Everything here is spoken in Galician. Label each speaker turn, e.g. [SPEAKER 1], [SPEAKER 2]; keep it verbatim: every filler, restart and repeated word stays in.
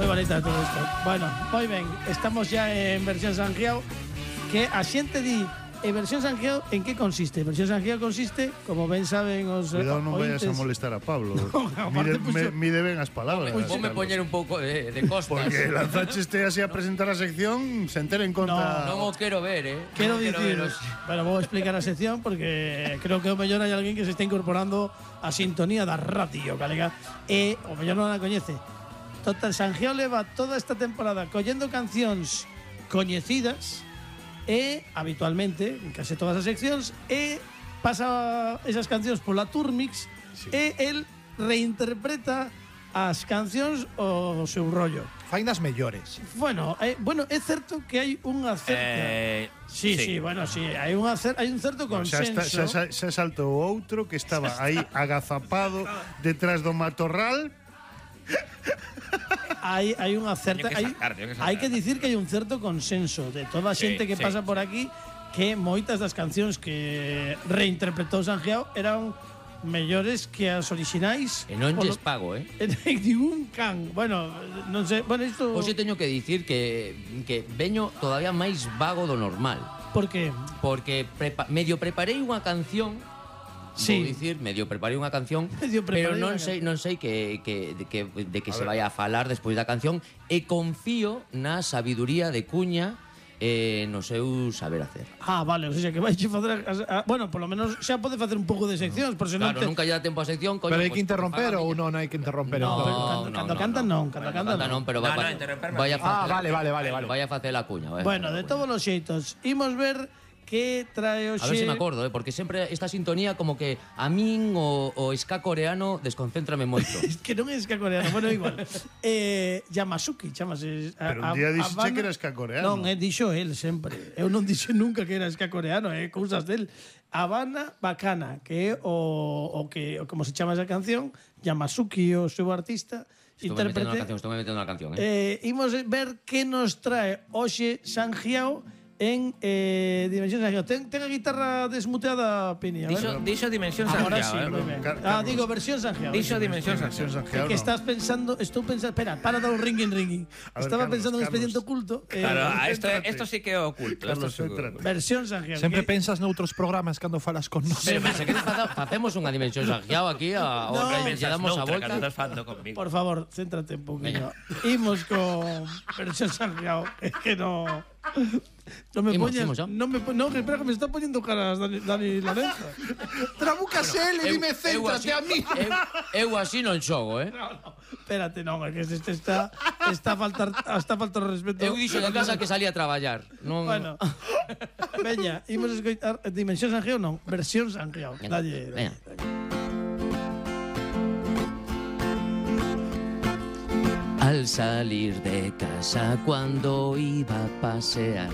[SPEAKER 1] Moi bonita todo isto. Bueno, moi ben, estamos xa en versión Sangiao, que a xente di, e versión Sangiao en que consiste? Versión Sangiao consiste, como ben saben os
[SPEAKER 2] Cuidado, non
[SPEAKER 1] ointes,
[SPEAKER 2] vayas a molestar a Pablo.
[SPEAKER 1] No, aparte,
[SPEAKER 2] mide,
[SPEAKER 1] pues,
[SPEAKER 2] me,
[SPEAKER 1] yo-
[SPEAKER 2] mide ben as palabras.
[SPEAKER 3] Pues ponme poñer un pouco de, de costas.
[SPEAKER 2] Porque lanzache este así a presentar a sección sen ter en conta...
[SPEAKER 3] Non o quero ver, eh.
[SPEAKER 1] Quero
[SPEAKER 3] Non
[SPEAKER 1] dicir,
[SPEAKER 3] ver os-
[SPEAKER 1] bueno, vou explicar a sección porque creo que o mellor hai alguén que se está incorporando a sintonía da radio, galega, e o mellor non a coñece. Total, Sangiao leva toda esta temporada collendo cancións coñecidas e habitualmente en case todas as seccións e pasa esas cancións pola Turmix sí. e el reinterpreta as cancións o seu rollo.
[SPEAKER 4] Fainas mellores.
[SPEAKER 1] Bueno, eh, bueno, é certo que hai unha certa
[SPEAKER 5] Eh,
[SPEAKER 1] Sí, sí,
[SPEAKER 5] sí.
[SPEAKER 1] bueno, sí, hai unha cer hai un certo
[SPEAKER 2] Bueno, xa,
[SPEAKER 1] consenso.
[SPEAKER 2] está, xa, xa saltou outro que estaba aí agazapado detrás do matorral.
[SPEAKER 1] Hai hai unha certa
[SPEAKER 5] Teño que
[SPEAKER 1] hai,
[SPEAKER 5] sacar, teño que sacar.
[SPEAKER 1] hai que dicir que hai un certo consenso de toda a
[SPEAKER 5] Sí,
[SPEAKER 1] xente que
[SPEAKER 5] sí.
[SPEAKER 1] pasa por aquí que moitas das cancións que reinterpretou Sangiao eran mellores que as orixinais.
[SPEAKER 3] E non
[SPEAKER 1] Polo-
[SPEAKER 3] lles pago, eh.
[SPEAKER 1] En ningún can. Bueno, non sei, bueno, isto
[SPEAKER 3] Hoxe teño que dicir que que veño todavía máis vago do normal,
[SPEAKER 1] porque
[SPEAKER 3] porque prepa medio preparei unha canción.
[SPEAKER 1] Sí.
[SPEAKER 3] Vou dicir, medio preparei unha canción,
[SPEAKER 1] Medio
[SPEAKER 3] pero
[SPEAKER 1] preparei
[SPEAKER 3] non
[SPEAKER 1] unha
[SPEAKER 3] sei, non sei que, que, de que, de que se vai a falar despois da canción e confío na sabiduría de Cuña e no seu saber hacer.
[SPEAKER 1] Ah, vale, o sea, que vai facer as- a- bueno, polo menos xa pode facer un pouco de seccións, por se non
[SPEAKER 3] Claro,
[SPEAKER 1] te
[SPEAKER 3] nunca lle dá tempo a sección, coño.
[SPEAKER 4] Pero hai
[SPEAKER 3] pues,
[SPEAKER 4] que interromper
[SPEAKER 3] faga
[SPEAKER 4] ou
[SPEAKER 3] miña.
[SPEAKER 4] non hai que interromper?
[SPEAKER 3] No,
[SPEAKER 1] Cando-
[SPEAKER 3] no,
[SPEAKER 1] cando
[SPEAKER 3] no,
[SPEAKER 1] cantan
[SPEAKER 3] no.
[SPEAKER 1] non, cando cantan
[SPEAKER 3] Canta
[SPEAKER 1] non.
[SPEAKER 3] non, pero
[SPEAKER 5] No,
[SPEAKER 3] va,
[SPEAKER 5] no,
[SPEAKER 3] va-
[SPEAKER 5] interromperme.
[SPEAKER 3] vaya
[SPEAKER 4] Ah,
[SPEAKER 3] facer,
[SPEAKER 4] vale, vale, vale, vale.
[SPEAKER 3] vaya a facer la cuña. vaya a
[SPEAKER 1] Bueno,
[SPEAKER 3] facer
[SPEAKER 1] de
[SPEAKER 3] la
[SPEAKER 1] todos os xeitos, imos ver que trae hoxe.
[SPEAKER 3] A ver se me acordo, eh, porque sempre esta sintonía como que a min o, o ska coreano desconcéntrame moito.
[SPEAKER 1] Es que non é ska coreano, bueno, igual. eh, Yamasuki, chamase. a-
[SPEAKER 2] Pero un
[SPEAKER 1] a-
[SPEAKER 2] día dixeche
[SPEAKER 1] Habana-
[SPEAKER 2] que era ska coreano.
[SPEAKER 1] Non, eh, dixo el sempre. Eu non dixo nunca que era ska coreano, eh, cousas del. Habana Bacana, que é o, o que o como se chama esa canción, Yamasuki, o seu artista,
[SPEAKER 3] Estou me metendo na
[SPEAKER 1] intérprete.
[SPEAKER 3] canción, estou me metendo na canción, eh.
[SPEAKER 1] Eh, imos ver que nos trae hoxe Sangiao en eh, Dimensión Sangiao. Ten, ten a guitarra desmuteada, Pini. A ver.
[SPEAKER 5] Dixo, dixo Dimensión
[SPEAKER 1] Ahora
[SPEAKER 5] Sangiao,
[SPEAKER 1] sí,
[SPEAKER 5] eh.
[SPEAKER 1] moi ben.
[SPEAKER 2] Car-
[SPEAKER 1] Ah,
[SPEAKER 2] Carlos.
[SPEAKER 1] digo, versión Sangiao.
[SPEAKER 5] Dixo Dimensión
[SPEAKER 2] Dimensión
[SPEAKER 5] Sangiao.
[SPEAKER 2] Sangiao,
[SPEAKER 1] que
[SPEAKER 2] no.
[SPEAKER 1] estás pensando, estou pensando, espera, para dar un ringing ringing.
[SPEAKER 2] A ver,
[SPEAKER 1] Estaba
[SPEAKER 2] Carlos,
[SPEAKER 1] pensando en un
[SPEAKER 2] Carlos.
[SPEAKER 1] expediente oculto. eh,
[SPEAKER 5] Claro, ah, esto,
[SPEAKER 2] Céntrate.
[SPEAKER 5] esto sí que é oculto.
[SPEAKER 2] Carlos,
[SPEAKER 5] Esto sí que é
[SPEAKER 2] céntrate.
[SPEAKER 5] oculto.
[SPEAKER 1] versión Sangiao.
[SPEAKER 4] Sempre
[SPEAKER 1] que-
[SPEAKER 4] pensas noutros programas cando falas con nós.
[SPEAKER 3] Pero, pero se queres facer, facemos unha dimensión Sangiao aquí a,
[SPEAKER 1] No.
[SPEAKER 3] a, lle damos a
[SPEAKER 5] Noutra, que
[SPEAKER 3] volta.
[SPEAKER 5] estás falando conmigo.
[SPEAKER 1] Por favor, céntrate un poquinho. Imos con versión Sangiao. Es que no. No me
[SPEAKER 3] Imos,
[SPEAKER 1] poñas.
[SPEAKER 3] imos, ¿no?
[SPEAKER 1] No me po- no, que espera que me está poniendo caras Dani, Dani Lorenzo.
[SPEAKER 4] Trabucas ele,
[SPEAKER 3] Eu-
[SPEAKER 4] dime
[SPEAKER 3] eu
[SPEAKER 4] céntrate
[SPEAKER 3] así-
[SPEAKER 4] a mí.
[SPEAKER 3] Eu, eu así non xogo, eh.
[SPEAKER 1] No, no. Espérate, no, es que este está está a faltar está a faltar o respeto.
[SPEAKER 3] Eu dixo de casa que salía a traballar. Non.
[SPEAKER 1] Bueno. Veña, imos escoitar Dimensión Sangiao non, versión Sangiao.
[SPEAKER 3] Venga,
[SPEAKER 1] Dalle.
[SPEAKER 3] venga. Al salir de casa cuando iba a pasear,